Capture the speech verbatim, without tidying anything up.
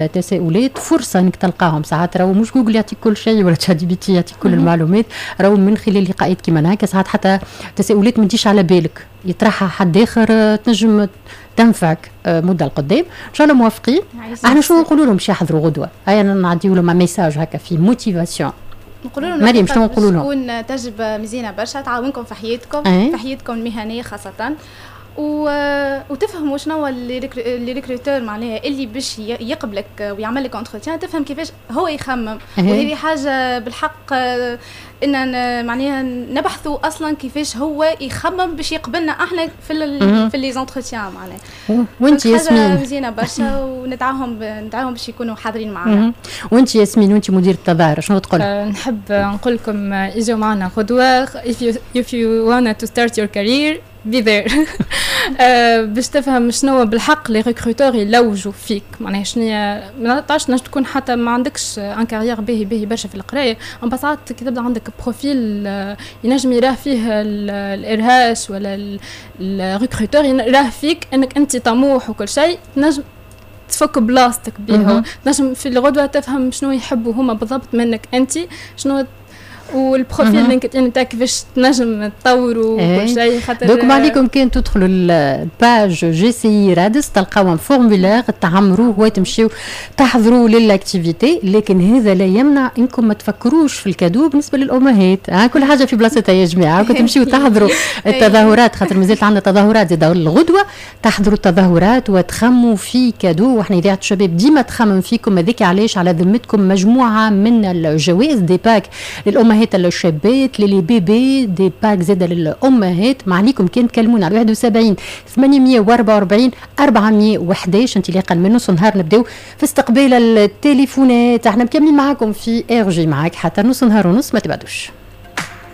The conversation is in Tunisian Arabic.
تساؤلات، فرصة انك تلقاهم. ساعات راهو مش جوجل يعطيك كل شيء ولا ChatGPT يعطيك كل المعلومات، راهو من خلال لقاءات كيما هكا ساعات حتى تساؤلات ما تجيش على بالك يطرحها حد اخر تنجم تنفعك آه، مده القدام. ان شاء الله موافقين. احنا شنو نقولوا لهم باش يحضروا غدوه؟ هيا نعديو لهم message هكا في motivation. نقولوا لهم، مريم، شنو نقولوا لهم؟ تكون تجربه مزيانه برشا، تعاونكم في حياتكم، أه؟ في حياتكم المهنية خاصه، و... وتفهموا شنو les recruteurs معناها اللي باش يقبلك ويعمل لك entretien، تفهم كيفاش هو يخمم. وهذه حاجة بالحق ان معناها نبحثوا اصلا كيفاش هو يخمم باش يقبلنا احنا في ال في les entretiens معناها. وانت ياسمين؟ مزيانه برشا، وندعوهم ندعوهم باش يكونوا حاضرين معنا. وانت ياسمين، وانت مدير التظاهر، شنو تقول؟ أه نحب نقول لكم اجوا معنا غدوه. if you if you want to start your career، be there، باش تفهم شنو بالحق les recruteurs يلوجوا فيك. معناها شنو ما تعرفش، تنجم تكون حتى ما عندكش une carrière باهي باهي برشا في القرايه، اما ساعات كي تبدا عندك profil ينجم يراه فيه ال RH ولا ال recruteur، يراه فيك انك انت طموح وكل شيء، تنجم تفك بلاصتك بيه. تنجم في الغدوه تفهم شنو يحبوا هما بالضبط منك انت، شنو وال profil LinkedIn نتاعك كيفاش تنجم تطوروا وكل شيء. خاطر donc ما عليكم كان تدخلوا ال page JCI رادس، تلقاو un formulaire تعمروه وتمشيو تحضروا لل activité. لكن هذا لا يمنع انكم ما تفكروش في ال cadeau بالنسبة للامهات. ها كل حاجة في بلاصتها يا جماعه. كنت تمشيو تحضروا التظاهرات، خاطر مازالت عندنا تظاهرات زاد الغدوه، تحضروا التظاهرات وتخموا في cadeau. واحنا اذاعة الشباب ديما تخمم فيكم، هذيك علاش على ذمتكم مجموعة من الجوائز، des packs للامهات الشابات، les bébés، des packs زاد للامهات. ما عليكم كان تكلمونا على واحد وسبعين ثمانمية وأربعة وأربعين أربعمية وحداش. انطلاقا من نص نهار نبداو في استقبال التليفونات. احنا مكملين معاكم في RJ معاك حتى نص نهار ونص، ما تبعدوش.